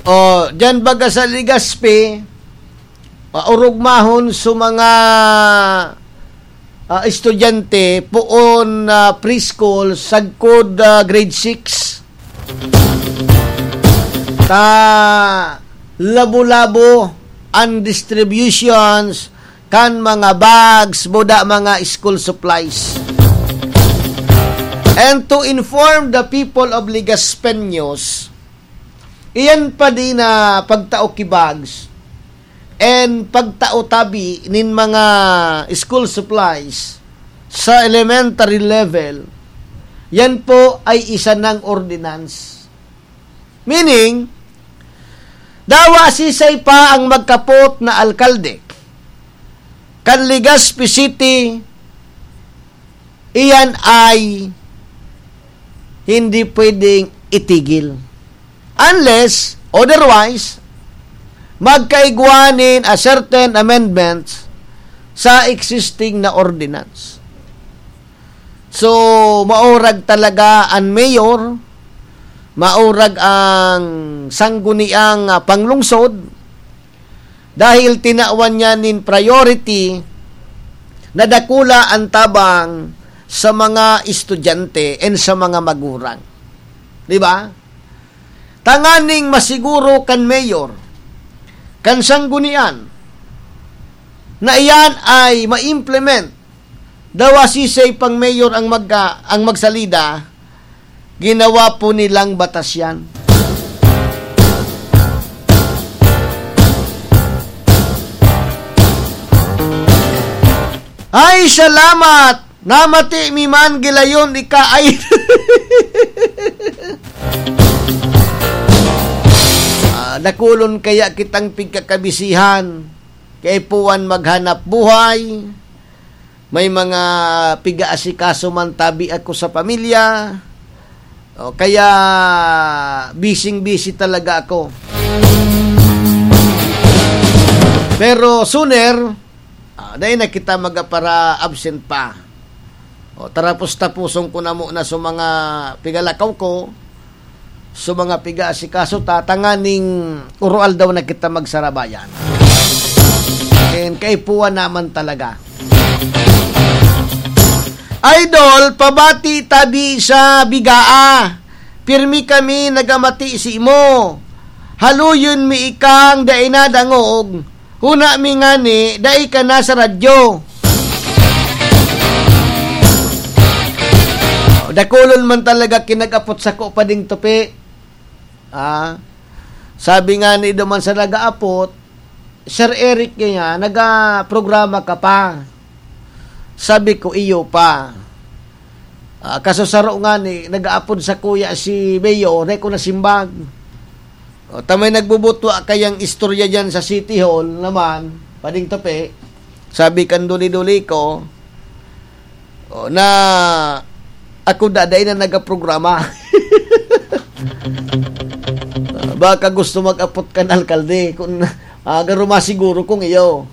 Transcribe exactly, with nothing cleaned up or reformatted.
O, diyan baga sa Legazpi, ah, orog mahon sa mga, ah, estudyante, poon, ah, preschool, sagkod, ah, grade six. Ta labo-labo an distributions kan mga bags, buda mga school supplies. And to inform the people of Legazpeños, iyan pa din na pagtao ki bags and pagtao tabi nin mga school supplies sa elementary level, yan po ay isa ng ordinance. Meaning, dawa sisay pa ang magkapot na alkalde kan Legazpi City, iyan ay hindi pwedeng itigil. Unless, otherwise, magkaigwa nin a certain amendments sa existing na ordinance. So, maurag talaga an mayor, maurag ang sangguniang, ah, panglungsod, dahil tinawan niya nin priority na dakula an tabang sa mga estudyante and sa mga magurang. Di ba? Tanganing masiguro kan mayor, kan sanggunian, na iyan ay ma-implement. Dawa sisay pang mayor ang magka-, ang magsalida, ginawa po nilang batas yan. Ay, salamat! Namati mi man gilayon ika ay. Ah, dakulon kaya kitang pigkakabisihan. Kaipuhan maghanap buhay. May mga piga-asikaso man tabi ako sa pamilya. O, kaya bising-busy talaga ako. Pero sooner, ah, dai na kita magapara-absent pa. O, tarapos-tapuson ko na muna sa mga pigalakaw ko, sa mga piga-asikaso ta, tanganing uro-aldaw na kita magsarabayan. And kaipuhan naman talaga. Idol, pabati tabi sa bigaa. Pirmi kami nagamati simo. Haluyon mi ikang dai nadangog. Huna mi ngani, dai ka na sa radyo. Dakulon man talaga kinag-apot sako pa ding tupi. Ah, sabi nga ni duman sa nag-aapot, "Sir Eric, kaya nagaprograma ka pa?" Sabi ko, "Iyo pa." Ah, kaso saro nga ni, nag-aapod sa kuya si Mayor, dai ko nasimbag. O, tamay nagbubutwa kayang istorya dyan sa City Hall naman, pading tape. Sabi kan duli-duli ko, o, na ako da, dai na nagaprograma. Ah, baka gusto mag-apot kan alkalde, kung, ah, garo masiguro kung iyo.